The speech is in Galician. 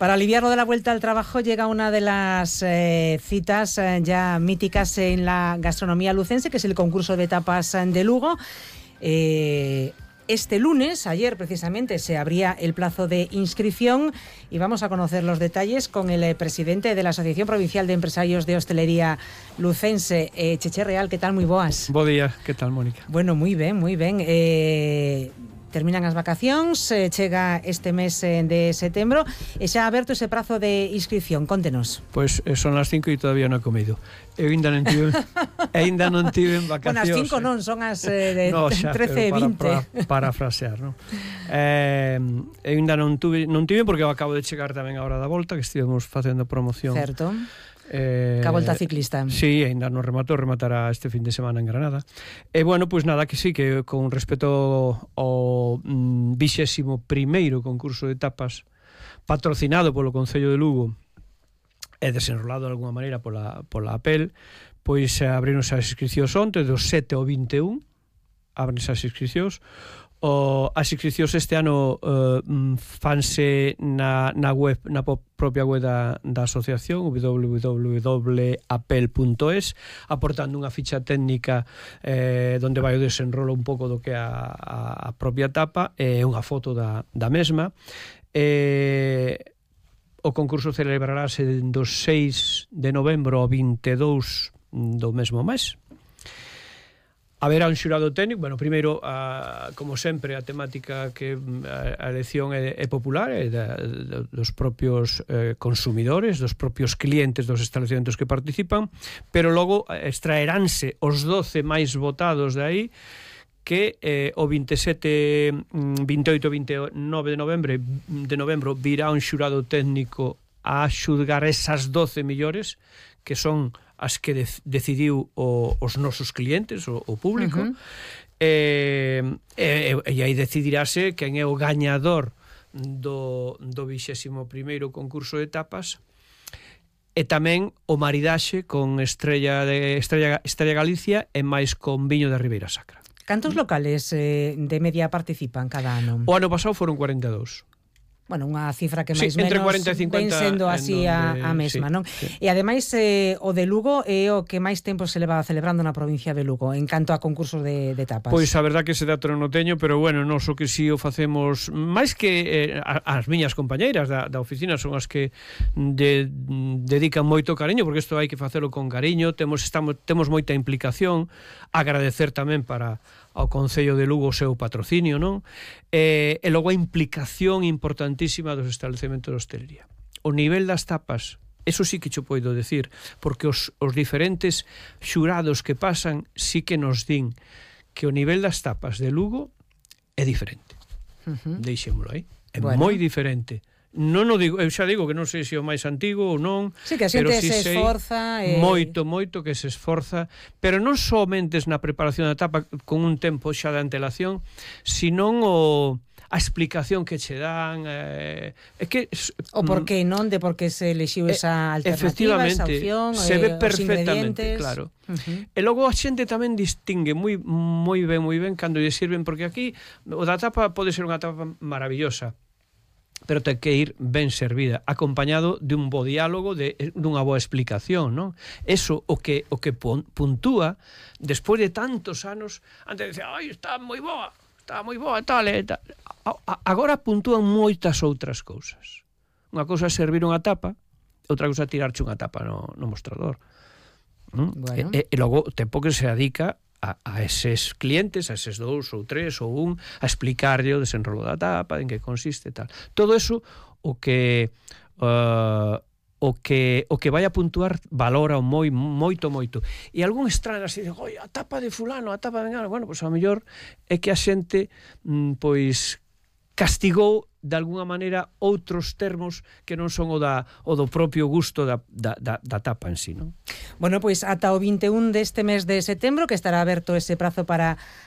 Para aliviar lo de la vuelta al trabajo llega una de las citas ya míticas en la gastronomía lucense, que es el concurso de tapas de Lugo. Este lunes, ayer precisamente, se abría el plazo de inscripción y vamos a conocer los detalles con el presidente de la Asociación Provincial de Empresarios de Hostelería Lucense, Cheche Real. ¿Qué tal? Moi boas. Bo día, que tal, Mónica? Bueno, moi ben. Terminan as vacacións, chega este mes de setembro e xa aberto ese prazo de inscripción. Contenos. Pois son as 5 e todavía non he comido. Eu ainda non tive en vacacións. Bueno, as 5 non, son as de no, xa, 13 e 20. Para frasear, non? Eu ainda non tive porque eu acabo de chegar tamén a hora da volta, que estivemos facendo promoción. Certo. Ca volta ciclista. Sí, ainda non rematará este fin de semana en Granada. E bueno, pois nada, que sí, que con respecto ao 21º concurso de tapas patrocinado polo Concello de Lugo e desenrolado de alguma maneira pola APEL, pois abrironse as inscripcións onte, do 7 ao 21, abrense as inscripcións. As inscripcións este ano fanse na web, na propia web da asociación, www.apel.es, aportando unha ficha técnica donde vai o desenrolo un pouco do que é a propia tapa e unha foto da mesma. O concurso celebrarase do 6 de novembro ao 22 do mesmo mes. Haberá un xurado técnico. Bueno, primeiro, como sempre, a temática que a elección é popular, é dos propios consumidores, dos propios clientes dos establecementos que participan, pero logo extraeránse os 12 máis votados de aí, que o 27, 28 e 29 de novembro virá un xurado técnico a xulgar esas 12 millores, que son as que decidiu os nosos clientes, o público, e aí decidirase quen é o gañador do 21º concurso de tapas, e tamén o maridaxe con Estrella Galicia e máis con viño da Ribeira Sacra. Cantos locales de media participan cada ano? O ano pasado foron 42. Bueno, unha cifra que máis entre menos 40 e 50 ven sendo así a mesma, sí, non? Sí. E ademais o de Lugo é o que máis tempo se leva celebrando na provincia de Lugo en canto a concursos de tapas. Pois a verdad que ese dato non o teño, pero bueno, nós o que si o facemos máis que as miñas compañeiras da oficina son as que dedican moito cariño, porque isto hai que facelo con cariño, temos moita implicación, agradecer tamén ao Concello de Lugo o seu patrocinio, non? E logo a implicación importantísima dos establecementos de hostelería. O nivel das tapas, eso sí que cho poido decir, porque os diferentes xurados que pasan sí que nos din que o nivel das tapas de Lugo é diferente. Deixémolo aí. É moi diferente. Non o digo, eu xa digo que non sei se o máis antigo ou non. Sí, que a xente se esforza moito que se esforza, pero non somente na preparación da tapa con un tempo xa de antelación, senón a explicación que che dan, é que o por que non, de por que se elixiu esa alternativa, esa opción, se ve perfectamente, claro. E logo a xente tamén distingue moi ben cando lle sirven, porque aquí o da tapa pode ser unha tapa maravillosa, pero ten que ir ben servida, acompañado de un bo diálogo, dunha boa explicación, non? Eso o que puntúa despois de tantos anos. Antes decía, ai, está moi boa, tal. Agora puntúan moitas outras cousas. Unha cousa é servir unha tapa, outra cousa é tirarche unha tapa no mostrador. Bueno. E logo o tempo que se dedica a eses clientes, a eses 2 ou 3 ou 1, a explicarlle o desenrolo da tapa, en que consiste e tal. Todo eso o que vai a puntuar valora moito. E algún extraño así de, oi, a tapa de fulano, a tapa de engano. Bueno, pois a mellor é que a xente pois castigou de alguna maneira outros termos que non son o do propio gusto da tapa en sí, non? Bueno, pois ata o 21 deste mes de setembro, que estará aberto ese prazo para